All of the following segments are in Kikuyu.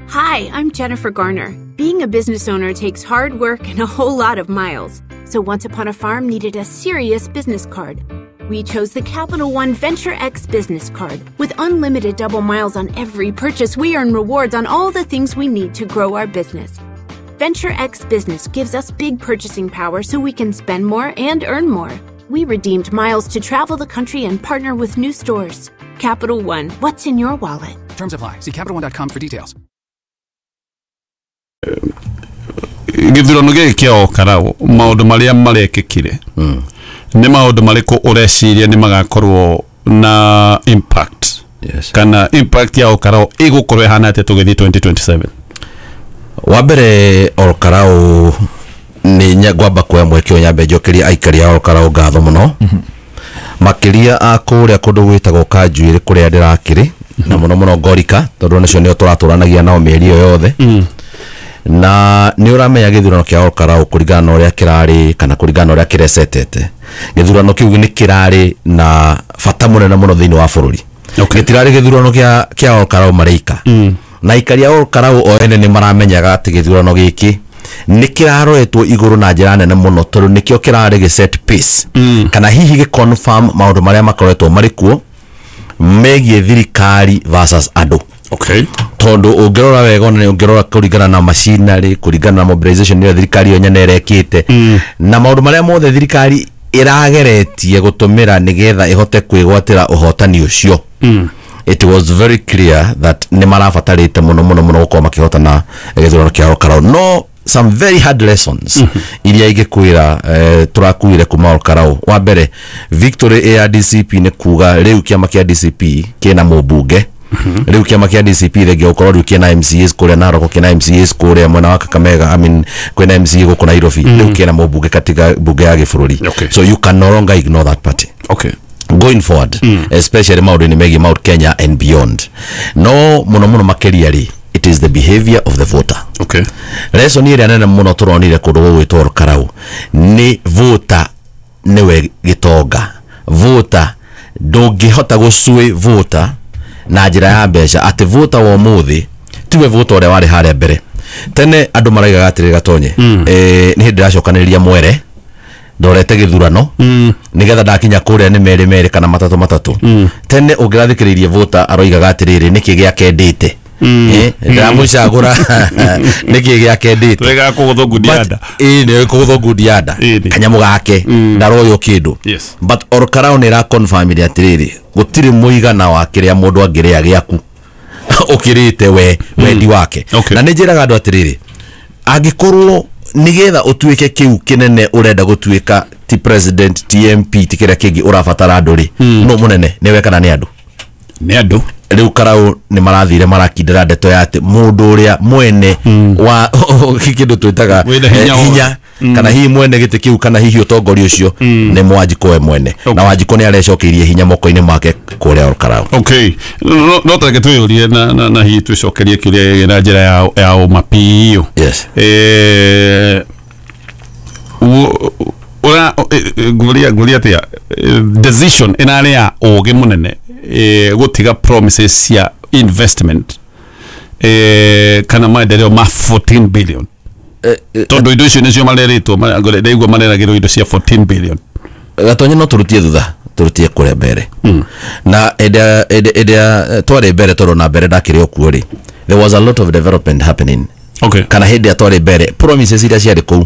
Hi, I'm Jennifer Garner. Being a business owner takes hard work and a whole lot of miles. So Once Upon a Farm needed a serious business card. We chose the Capital One Venture X business card. With unlimited double miles on every purchase, we earn rewards on all the things we need to grow our business. Venture X Business gives us big purchasing power so we can spend more and earn more. We redeemed miles to travel the country and partner with new stores. Capital One, what's in your wallet? Terms apply. See CapitalOne.com for details. Gĩthurano gĩkĩ kĩa Olkalau, maũndũ marĩa marekĩkire nĩ maũndũ marĩkũ ũreciria nĩ magakorwo na impact? Yes. Kana impact ya Olkalau ĩgũkorwo ĩhana atĩa tũgĩthiĩ 2027? Wa mbere, Olkalau nĩ ngwamba kuoya mweke ũyũ nyambe njokerie aikari a Olkalau ngatho mũno, makĩria a kũrĩa kũndũ gwĩtagwo Kanjuĩrĩ kũrĩa ndĩrakĩrĩ, na mũno mũno Ngorika, tondũ nĩcio nĩo tũratũranagia nao mĩeri ĩyo yothe. Na nĩ ũramenya gĩthurano kĩa Olkalau kũringana na ũrĩa kĩrarĩ kana kũringana na ũrĩa kĩrecetete, gĩthurano kĩu nĩ kĩrarĩ na bata mũnene mũno thĩinĩ wa bũrũri. Gĩtirarĩ gĩthurano kĩa Olkalau mareika, na aikari a Olkalau o ene nĩ maramenyaga atĩ gĩthurano gĩkĩ nĩ kĩraroretwo igũrũ na njĩra nene mũno, tondũ nĩkĩo kĩrarĩ gĩ set pace kana hihi gĩ confirm maũndũ marĩa makoretwo marĩ kuo megiĩ thirikari versus andũ. Tondũ ũngĩrora wega, ona ũngĩrora kũringana na machinery, kũringana na mobilization ĩrĩa thirikari yo nyene ĩrekĩte na maũndũ marĩa mothe thirikari ĩrageretie gũtũmĩra nĩgetha ĩhote kwĩgwatĩra ũhotani ũcio, it was very clear that nĩ marabatarĩte mũno mũno mũno gũkorwo makĩhotana gĩthurano kĩa Olkalau. No some very hard lessons iria ingĩkwĩra tũrakuire kuma Olkalau. Wa mbere, victory ya DCP nĩ kuga rĩu kĩama kĩa DCP kĩna mũmbunge. Rĩu kĩama kĩa DCP thengia gũkorwo rĩu kĩna MCAs kũrĩa Narok, kĩna MCAs kũrĩa mwena wa Kakamega, I mean, kwĩna MCA gũkũ Nairobi, rĩu kĩna mũmbunge katika bunge ya gĩbũrũri. So you can no longer ignore that party going forward, especially maũndũ-inĩ megiĩ Mount Kenya and beyond. No mũno mũno makĩria rĩ, it is the behavior of the voter. Lesson ĩrĩa nene mũno tũronire kũndũ gũgwĩtwo Olkalau nĩ voter nĩwe gĩtonga. Voter ndũngĩhota gũcui voter na njĩra ya mbeca, atĩ voter wa ũmũthĩ tiwe voter ũrĩa warĩ harĩa mbere. Tene andũ maraigaga atĩrĩ, Gatonye, nĩ hĩndĩ ndĩracokanĩrĩria mwere ndorete gĩthurano nĩgetha ndakinya kũrĩa nĩ merĩ merĩ kana matatũ matatũ. Tene ũngĩrathikĩrĩirie voter aroigaga atĩrĩrĩ, nĩkĩ gĩakendĩte, ndĩramũcagũra nĩkĩ gĩakendĩte? Wega kũgũthwo ngundi-ya-nda. Ĩĩ, nĩ kũgũthwo ngundi-ya-nda, kanyamũ gake ndaroywo kĩndũ. But Olkalau nĩ ĩraconfirmire atĩrĩrĩ, gũtirĩ mũigana wa kĩrĩa mũndũ angĩrĩa gĩaku ũkĩrĩte we wendi wake. Na nĩ njĩraga andũ atĩrĩrĩ, angĩkorwo nĩgetha ũtuĩke kĩu kĩnene ũrenda gũtuĩka, ti president, ti MP, ti kĩrĩa kĩngĩ, ũrabatara andũ rĩ, no mũnene nĩwe kana nĩ andũ? Nĩ andũ. Rĩu Karau nĩ marathire marakindĩra ndeto ya atĩ mũndũ ũrĩa mwene wa kĩndũ twĩtaga Wĩna hinya hinya kana hihi mwene gĩtĩ kĩu kana hihi ũtongoria ũcio nĩ Mwanjikũ we mwene, na Wanjikũ nĩ arecokeirie hinya moko-inĩ make kũrĩa Olkalau. Okay, no tareke twĩyũrie na hihi twĩcokerie kĩũria gĩkĩ na njĩra ya ũma biũ. Ũra nguria atĩa decision ĩrarĩ ya ũgĩ mũnene gũtiga promises cia investment kana maendeleo ma 14 billion, tondũ indo icio nĩcio marerĩtwo, ndaigua mareragĩrwo indo cia 14 billion? Gatonye, no tũrutie thutha, tũrutie kũrĩa mbere, na ĩrĩa twarĩ mbere, tondũ na mbere ndakĩrĩ o kuo rĩ, there was a lot of development happening kana hĩndĩ ĩrĩa twarĩ mbere, promises iria ciarĩ kũu.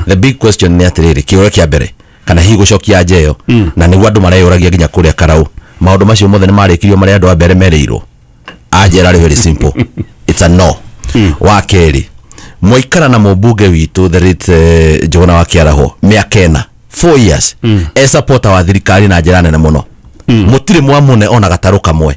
The big question nĩ atĩrĩrĩ, kĩũria kĩa mbere kana hihi gũcokia nja ĩyo, na nĩguo andũ mareyũragia nginya kũrĩa Karau, maũndũ macio mothe nĩ marĩkirio marĩa andũ a mbere merĩirwo? Anja ĩrarĩ very simple, it's a no. Wa kerĩ, mwaikara na mũmbunge witũ the late Njuguna wa Kĩaraho mĩaka 4, 4 years, e supporter wa thirikari na njĩra nene mũno, mũtirĩ mwamũne ona gatarũ kamwe,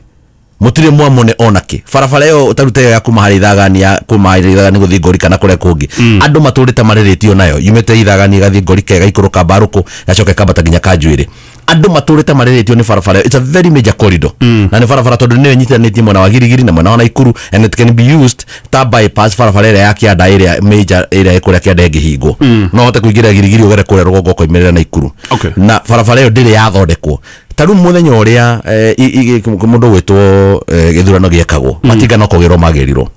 mũtirĩ mwamũne ona kĩ. Barabara ĩyo taruta ĩyo ya kuma harĩ Ithagani, ya kuma harĩ Ithagani gũthiĩ Ngori kana kũrĩa kũngĩ, andũ matũrĩte marĩrĩtio nayo, yumĩte Ithagani ĩgathiĩ Ngori, ĩgaikũrũka Mbarũkũ, gacoka ĩkambata nginya Kanjuĩrĩ. Andũ matũrĩte marĩrĩtio nĩ barabara ĩyo. It's a very major corridor, na nĩ barabara tondũ nĩyo ĩnyitithanĩtie mwena wa Girigiri na mwena wa Naikuru, and it can be used ta bypass barabara ĩrĩa ya kĩanda, ĩrĩa major ĩrĩa ĩ kũrĩa kĩanda ĩngĩhingwo, no hote kũingĩra Girigiri, ũgere kũrĩa rũgongo, ũkoimĩrĩra Naikuru. Na barabara ĩyo ndĩrĩ yathondekwo. Ta rĩu mũthenya ũrĩa mũndũ gwĩtwo gĩthurano gĩekagwo, matinga no kũgĩrwo magĩrirwo.